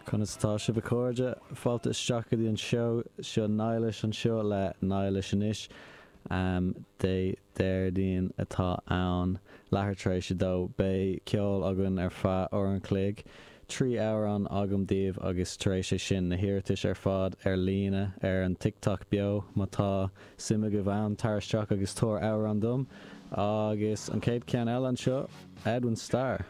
Conas atá sibh a chairde? Fáilte isteach go dtí an seó seo Niallais anseo le Niallais anois. Dé Déardaoin atá ann, leathuair tar éis a dó. Beidh ceol againn ar feadh uair an chloig. 3 amhrán agam daoibh agus tar éis é sin na hiarratais ar fad ar líne ar an TikTok beo má tá suim agaibh ann, tar isteach agus tabhair amhrán dom. Agus an chéad cheann eile anseo, Edwin Starr.